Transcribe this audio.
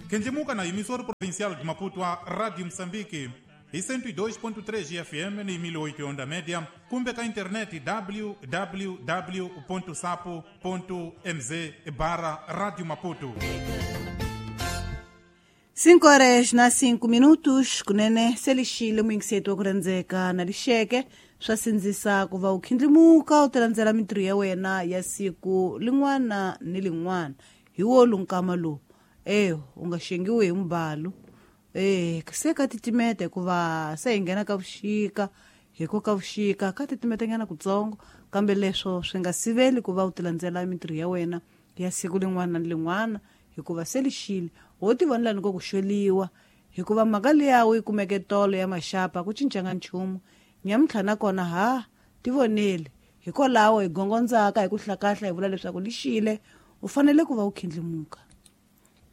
Kendjimuka na emissora provincial de Maputo a Rádio Moçambique e 102.3 FM na 1008 onda média, kumbe ka internet www.sapo.mz barra Rádio Maputo. 5 horas na 5 minutos kunene selixile muyingiseti wa ku rhandzeka na lixeke swa sindzisa ku va u khindlimuka u tilandzela mintirho ya wena ya siku lin'wana ni lin'wana hi wolu nkama lowu e u nga xengiwi hi mubalu e se ka titimeta hikuva se hi nghena ka vuxika hi ko ka vuxika ka titimetanyana kutsongo kambe leswo swi nga siveli ku va u tilandzela mintirho ya wena ya siku lin'wana na lin'wana hikuva se lixile wo tivonela ni ko ku xweliwa hikuva mhaka liya u yi kumeke tolo ya maxapa ku cincanga nchumu nyamuntlha nakona ha tivoneli hikwalaho hi gongondzaka hi ku hlakahla hi vula leswaku lixile u fanele ku va u khindlimuka.